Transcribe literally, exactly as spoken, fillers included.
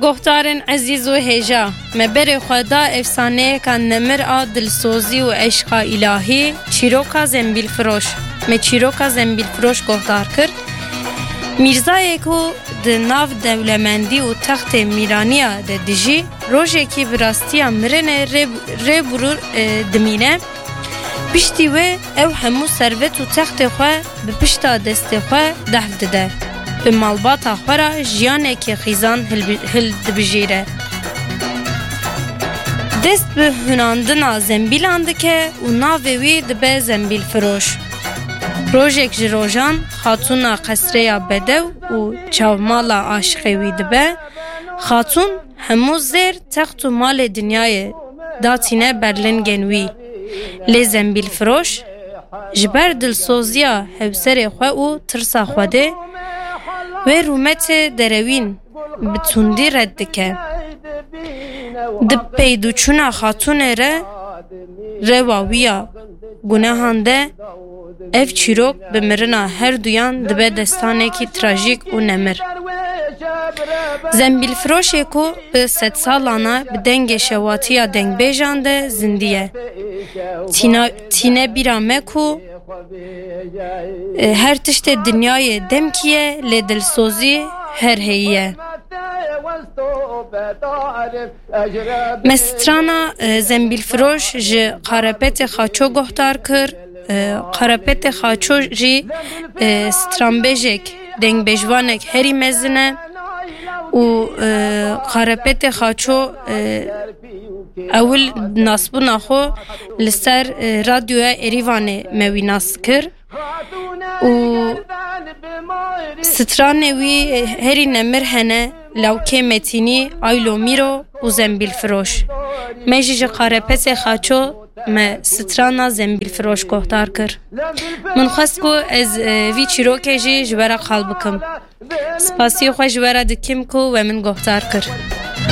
Guhdarên ezîz û hêja, me berê xwe da efsaneyeka nemir a dilsozî û eşqa îlahî, çîroka Zembîlfiroş. Me çîroka Zembîlfiroş guhdar kir. Mîrzayê ku di nav dewlemendî û textê mîraniya de dijî, rojekî bi rastiya mirinê rê, rê burû, e, dimîne. Piştî wê ew hemû servet û textê xwe bi pişta destê xwe dehf dide. Bi malbata xwe re jiyanekî xîzan hilbi-, hildibijêre. Dest bi hunandina zembîlan dike û navê wî dibe Zembîlfiroş. Rojek ji rojan xatûna qesreya bedew û çavmala aşiqê wî dibe. Xatûn hemû zêr, text û malê dinyayê datîne berlingên wî. Lê Zembîlfiroş ji ber dilsoziya hewserê xwe û tirsa Xwedê wê rûmetê derewîn bi tundî red dike. Di peydûçûna xatûnê re rewa wî ya gunehan de ev çîrok bi mirina her duyan dibe destanekî trajîk û nemir. Zembîlfiroşê ku bi sedsalana bi dengê şewatiya dengbêjan de zindî ye. Tîna-, tîne bîra me ku, e, her tiştê dinyayê demkî ye, lê dilsozî her heyî ye. Me strana, e, Zembîlfiroş ji Qarepetê Xaço guhdar kir. E, Qarepetê Xaço jî, e, stranbêjek, dengbêjvanek herî mezin e û, e, Qarepetê Xaço, e, ewil nasbûna xwe li ser, e, radyoya Êrîvanê me wî nas kir. Û stranê wî herî nemir hene, Lawkê Metînî, Aylo Mîro û Zembîlfiroş. Me jî ji Qarepetê Xaço me strana Zembîlfiroş guhdar kir. Min xwest ku ez, e, vî çîrokê jî ji we re qal bikim. Spasiyê xwe ji we re dikim ku we min guhdar kir.